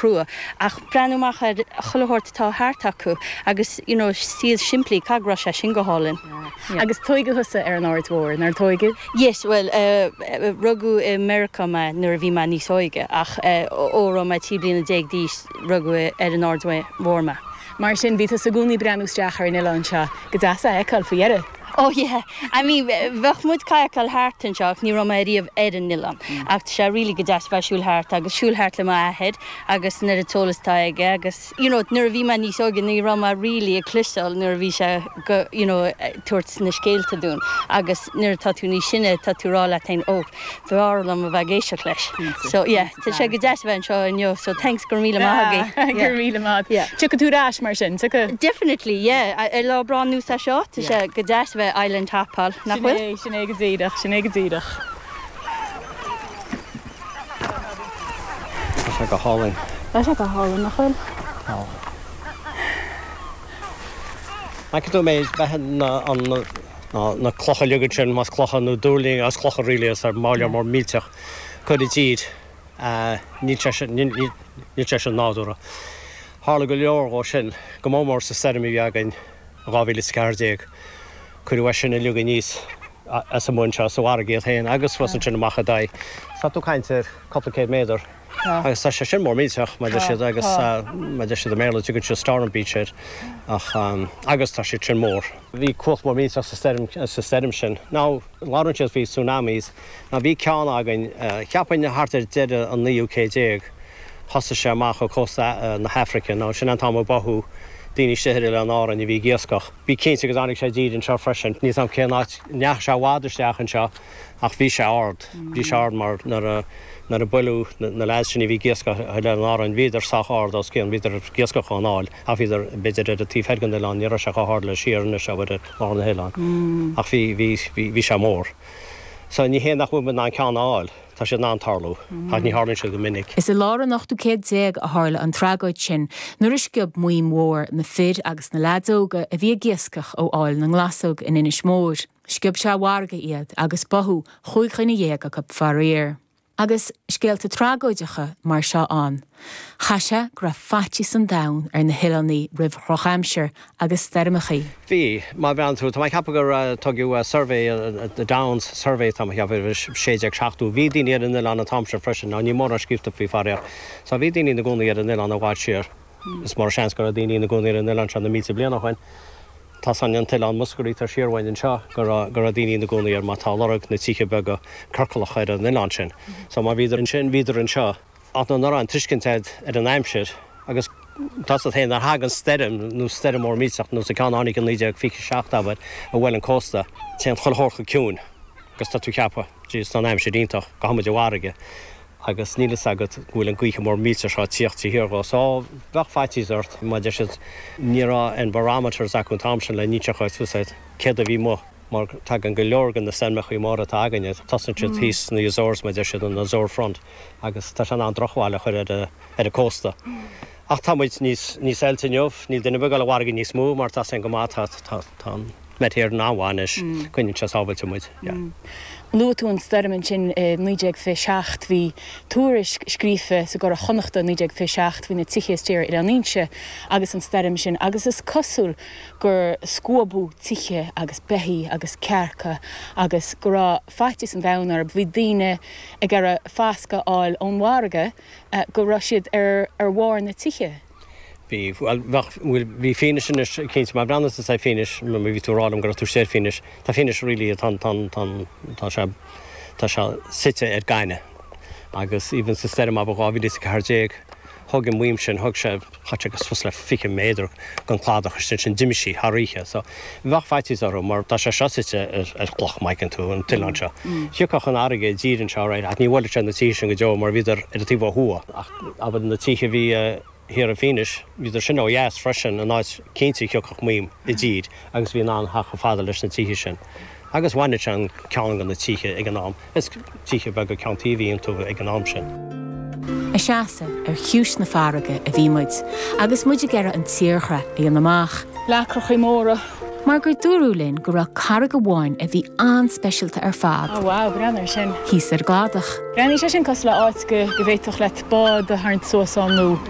crua ach breathnú amach ar chuile shórt atá thart acu agus you know saol simplí, caithfidh go raibh sé sin go hálainn. Yeah. Agus tóigeadh thusa ar an Aird Mhór, nár tóigeadh? Yes, bhuel rugadh i Meiriceá mé nuair a bhí mé níos óige ach ó raibh mé 13 bliana d'aois rugadh ar an Aird Mhór mé. Mar sin bhí tusa i gcónaí ag breathnú isteach ar an oileán seo, go deas é a fheiceáil faoi dheireadh. Oh yeah, I mean bheadh muid cadhcáil thart anseo ach ní raibh mé ariamh ar an oileán. Ach tá sé really go deas bheith ag siúl thart agus siúl thart le m'athair agus an oiread eolas atá aige agus you know nuair a bhí mé níos óige ní raibh mé really ag cloisteáil nuair a bhí sé go you know tabhairt na scéalta dúinn agus nuair atá tú níos sine tá tú ag rá leat féin oh B'fhearr liom a bheith ag éisteacht leis. So yeah, tá sé go deas a bheith anseo inniu, so thanks, go raibh míle maith agaibh. Go raibh míle maith. Yeah. Tiocfaidh tú ar ais mar sin, tiocfaidh? Definitely, yeah. Ar lá breá ar nós é seo, tá sé go deas a bheith island hopáil, nach bhfuil? Sin é, sin é go díreach, sin é go díreach. Tá sé go hálainn. Tá sé go hálainn, nach bhfuil? Tá. An bhfeiceann tú mé bheith an na clocha uilig ansin, más clocha nó duirling, as clocha really is ar máille mór millteach curtha i dtír. Níl sé sin, níl sé sin nádúrtha. Tharla go leor dhó sin, go mór mór sa stoirm a bhí againn i 2014. Cuireadh é sin uilig aníos as amuigh anseo sa bhfarraige iad féin agus suas ansin amach i dtaobh. Tá tú ag caint ar cúpla céad méadar. Agus tá sé sin mór millteach, mar deir siad, agus mar deir siad i mBéarla, tugann siad storm beach air, ach, agus tá siad sin mór. Bhí cumhacht mór millteach sa stoirm, sa stoirm sin. Now, labhrann siad faoi tsunamis. Now, bhí ceann againn, cheapfainn thart ar deireadh an naoú céad déag, thosaigh sé amach ó cósta na hAfraice. Now, sin an t-am a báthadh daoine istigh ar Oileán Árainn a bhí ag iascach. Bí cinnte go dtáinig sé i dtír anseo freisin. Níl 's a'm cén áit, ndeachaigh sé i bhfad isteach anseo ach bhí sé ard. Bhí sé ard mar nuair a, nuair a buaileadh na lads sin a bhí ag iascach ar Oileán Árainn, bhíodar sách ard os cionn, bhíodar ag iascach ón aill ach bhíodar b'fhéidir ar an taobh thoir den oileán, ní raibh sé chomh hard le siar anois abair ar lár na hoileáin. Ach bhí, bhí, bhí, bhí sé mór. So ní hé nach bhfuil muid in ann ceann a fháil, tá siad in ann tarlú, ach ní tharlaíonn siad go minic. Is i lár an ochtú céad déag a tharla an tragóid sin, nuair a sciob maidhm mhór na fir agus na leaids óga a bhí ag iascach ó Fhaill na nGlasóg in Inis Mór. Sciob sé i bhfarraige iad agus báthadh chúig dhuine dhéag acu faraor. Agus scéalta tragóideacha mar seo ann, chaith sé go raibh faitíos an domhain ar na hoileánaigh roimh dhrochaimsir agus stoirmeachaí. Bhí. Má bhreathnaíonn tú, tá mé ag ceapadh gur tugadh survey, the Downs Survey tá mé ag ceapadh, 1670. Bhí daoine ar an oileán an t-am sin freisin. Now níl mórán scríobhta faoi faraor. So bhí daoine ina gcónaí ar an oileán i bhfad siar. Is mór an seans go raibh daoine ina gcónaí ar an oileán seo na mílte bliain ó shoin. Tá san an t-oileán Muskerry atá siar uainn anseo go raibh go raibh daoine ina gcónaí air mar tá lorg na tithe beaga ciorclacha ar an oileán sin. So má bhíodar ansin bhíodar anseo. Ach nuair nach raibh an tuiscint a'd ar an aimsir agus tá 's a'd féin nuair a thagann stoirm nó stoirm mór millteach nós an ceann a tháinig i 1927 abair a bhuail an cósta téann chuile shórt go ciúin agus tá tú ag ceapadh jeez tá an aimsir iontach gabhfaidh muid i bhfarraige. agus níl fhios agat go bhfuil an gaoithe mór millteach seo ag tíocht de shíor dhó. So, bheadh faitíos ort, mar deir siad, ní raibh aon barometers acu an t-am sin le n-inseacht dhuit fios agat céard a bhí amuigh, mar tagann go leor de na stoirmeachaí móra atá againne, tosaíonn siad thíos sna Azores, mar deir siad, an Azore Front, agus tá sé in ann drochbhail a chur ar ar an cósta. Ach tá muid níos níos oilte inniu, níl duine ar bith ag dul i bhfarraige níos mó mar tá 's againn go maith, tá tá tá an Met Éireann an-mhaith anois, coinníonn sé sábhailte muid, yeah. Luaigh tú an stoirm ansin i 1927. Bhí tuairisc scríofa sa gCuradh Chonnachta i 1927 faoi na tithe istigh ar Oileán Fhínse agus an stoirm sin agus is cosúil gur scuabadh tithe agus beithígh agus cearca agus go raibh faitíos an domhain orthu. Bhí daoine ag iarraidh fascadh a fháil ón bhfarraige go raibh siad ar ar bharr na tithe. Bhí, bhuel, bheadh, bhuel, bhí Fínis anois, cinnte, má bhreathnaíonn tú ar Fínis, má bhí tú ag rá liom go raibh tú istigh ar Fínis, tá Fínis really, tá, tá, tá, tá sé, tá sé suite ar gaineamh agus even sa stoirm abair 2014, thug an maidhm sin, thug sé, chaith sé suas le 20 méadar den cladach istigh ansin, d'imigh sí thar oíche. So, bheadh faitíos orthu mar tá sé seo suite ar, ar chloch, má fheiceann tú, an t-oileán seo. Thiocfadh an fharraige i dtír anseo, right, ach ní bhuailfeadh sé na tithe sin go deo mar bhíodar ar an taobh ó thuaidh. Ach abair na tithe a bhí thiar i Fínis, bhíodar sin ó dheas freisin, an áit cinnte a thiocfadh maidhm i dtír agus bhí in ann theacht chomh fada leis na tithe sin. Agus bhaineadh sé an ceann de na tithe ag an am. Is tithe beaga ceann tí a bhí iontu ag an am sin. Ag seasamh ar chiumhais na farraige a bhí muid agus muid ag iarraidh an tírdhreach a dhéanamh amach. Leacrachaí móra. Mar gur dúradh linn go raibh carraig amháin a bhí an-speisialta ar fad. Oh wow, breathnaigh ar sin. Thíos ar an gcladach. Breathnaíonn sé sin cosúil le áit go bhféadfadh leat bád a tharraingt suas ann nó.